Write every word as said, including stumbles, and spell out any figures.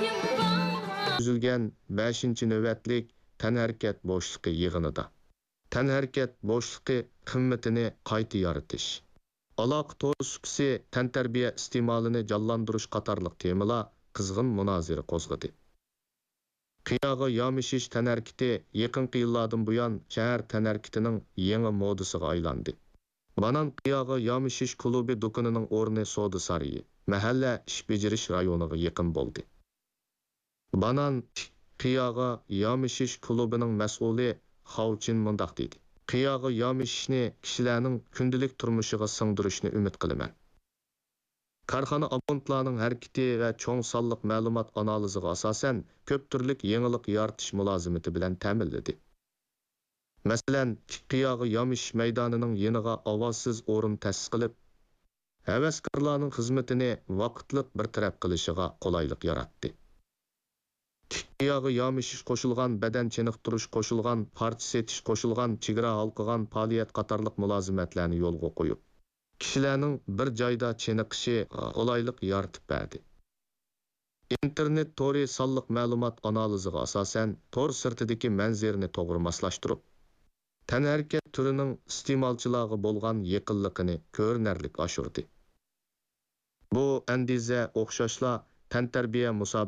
ئۆتكۈزۈلگەن بەشىنچى نۆۋەتلىك تەنھەرىكەت بوشلۇقى يىغىنىدا تەنھەرىكەت بوشلۇقى قىممىتىنى قايتا يارىتىش، ئالاقە تور سۇپىسى، تەنتەربىيە ئىستېمالىنى جانلاندۇرۇش قاتارلىق تېمىلار قىزغىن مۇنازىرە قوزغىدى. قىياغا يامىشىش تەنھەرىكىتى يېقىنقى يىللاردىن بۇيان شەھەر تەنھەرىكىتىنىڭ يېڭى مودىسىغا ئايلاندى. بانان قىياغا يامىشىش كۇلۇبى دۇكىنىنىڭ ئورنى سودا سارىيى، مەھەللە ئىش بېجىرىش رايونىغا يېقىن بولدى. بانان تىك قىياغا يامىشىش كۇلۇبىنىڭ مەسئۇلى خاۋ چىن مۇنداق دېدى: «قىياغا يامىشىشنى كىشىلەرنىڭ كۈندىلىك تۇرمۇشىغا سىڭدۈرۈشنى ئۈمىد قىلىمەن.» كارخانا ئابونتلارنىڭ ھەرىكىتى ۋە چوڭ سانلىق مەلۇمات ئانالىزىغا ئاساسەن، كۆپ تۈرلۈك يېڭىلىق يارىتىش مۇلازىمىتى بىلەن تەمىنلىدى. مەسىلەن، تىك قىياغا يامىشىش مەيدانىنىڭ يېنىغا ئاۋازسىز ئورۇن تەسىس قىلىپ، ھەۋەسكارلارنىڭ خىزمىتىنى ۋاقىتلىق بىر تەرەپ قىلىشىغا قولايلىق ياراتتى. تىك قىياغا يامىشىش قوشۇلغان، بەدەن چېنىقتۇرۇش قوشۇلغان، پارچە سېتىش قوشۇلغان، چېگرا ھالقىغان پائالىيەت قاتارلىق مۇلازىمەتلەرنى يولغا قويۇپ، كىشىلەرنىڭ بىر جايدا چېنىقىشى قولايلىق يارىتىپ بەردى. ئىنتېرنېت تورى سانلىق مەلۇمات ئانالىزىغا ئاساسەن، تور سىرتىدىكى مەنزىرىنى توغرا ماسلاشتۇرۇپ، تەنھەرىكەت تۈرىنىڭ ئىستېمالچىلارغا بولغان يېقىنلىقىنى كۆرۈنەرلىك ئاشۇردى. بۇ ئەندىزە ئوخشاشلا تەنتەربىيە مۇسابىقىسى